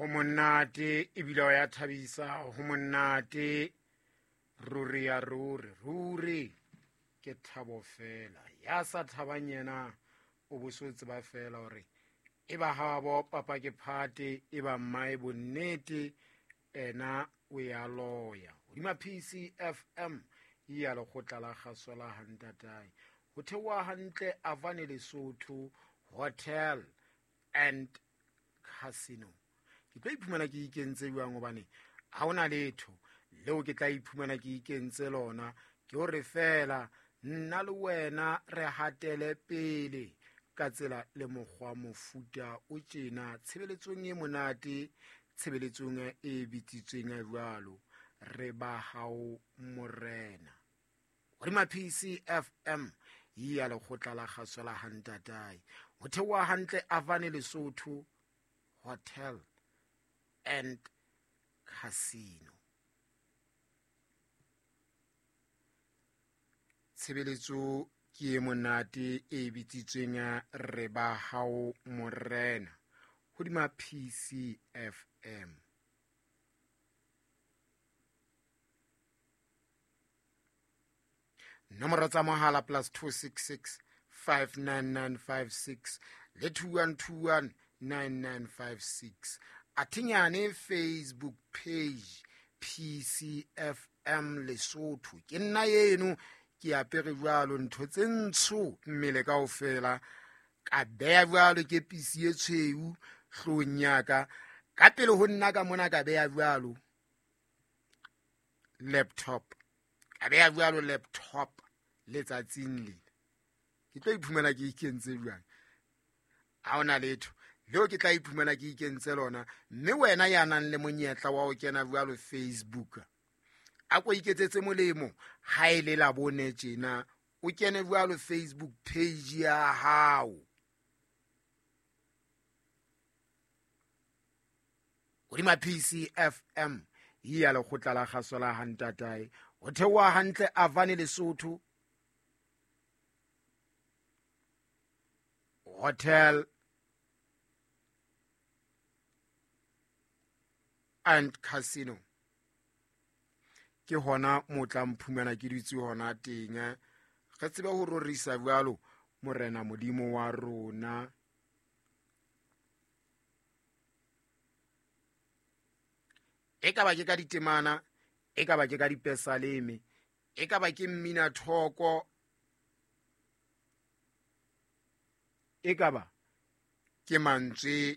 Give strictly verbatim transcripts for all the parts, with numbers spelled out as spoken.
Ho monate ebile o ya thabisa, ho monate ruri ya ruri, ruri ke thabo fela. Ya sa thabang yena o bo so tseba fela hore e ba habo papa ke phate, e ba mmae bonnete ena o ya loya. Hodima P C F M ya lekgotla la kgaso la Hantatae. Ho theoha hantle Avane Lesotho Hotel and Casino. Ke tlo iphumana ke ikentse jwang hobane ha hona letho leo ke tla iphumana ke ikentse lona, ke hore fela nna le wena re hatele pele ka tsela le mokgwa mofuta o tjena tshebeletsong e monate, tshebeletsong e bitsitsweng jwalo re ba hao morena. Hodima P C F M ya lekgotla la kgaso la Hantatae. Ho theoha hantle Avane Lesotho Hotel and Casino. Tshebeletso ke e monate e bitsitsweng re ba hao morena. Hodima P C F M. Nomoro tsa mohala plus two six six five nine nine five six le two one two one nine nine five six. Athinyane Facebook page P C F M Lesotho. Ke nna eno ke apere jwalo ntho tse ntsho mmele kaofela, ka beya jwalo ke pisi e tshweu hloohong ya ka. Ka pele ho nna ka mona ka beya jwalo laptop, ka beya jwalo laptop letsatsing lena. Ke tlo iphumana ke ikentse jwang? Ha hona letho leo ke tla iphumana ke ikentse lona. Mme wena ya nang le monyetla wa ho kena jwalo Facebook, a ko iketsetse molemo ha e le la bone tjena, o kene jwalo Facebook page ya hao. Hodima P C F M ya lekgotla la kgaso la Hantatae. Ho theoha hantle Avane Lesotho Hotel and Casino. Ke hona mo tla mphumana ke dutse hona teng. Re tsebe ho rorisa jwalo morena Modimo wa rona. E ka ba ke ka ditemana, e ka ba ke ka dipesaleme, e ka ba ke mmina thoko, e ka ba ke mantswe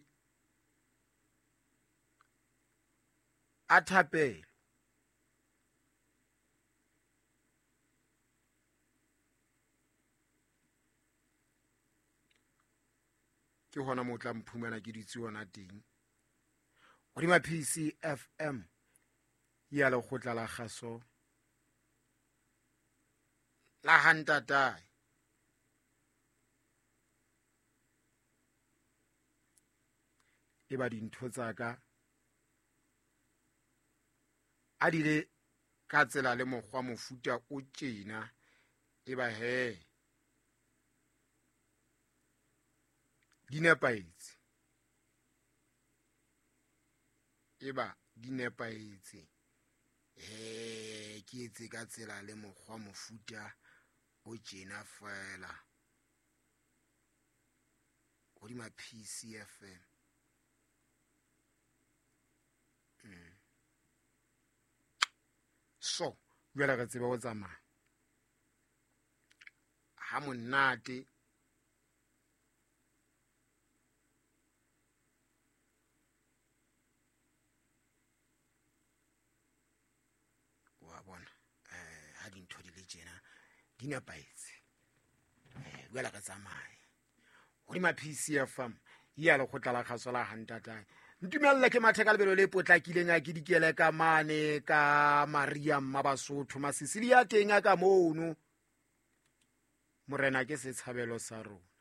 a thapelo. Ke hona mo tla mphumana ke dutse hona teng. Hodima P C F M ya lekgotla la kgaso la Hantatae. E ba dintho tsa ka a di le ka tsela le mokgwa mofuta o tjena, e ba he di nepahetse, e ba di nepahetse. Eh, ke etse ka tsela le mokgwa mofuta o tjena fela. Hodima P C F M. Mm. So, jwale re tsebe ho tsamaya ha monate. Wa bona, eh, ha dintho di le tjena di nepahetse. Eh, jwale re tsamaye hodima P C F M ya lekgotla la kgaso la Hantatae. Ntumella ke mathe ka lebelo le potlakileng a ke dikele ka mane ka Maria Mmabasotho Masisili ya teng a ka mono. Morena ke setshabelo sa rona.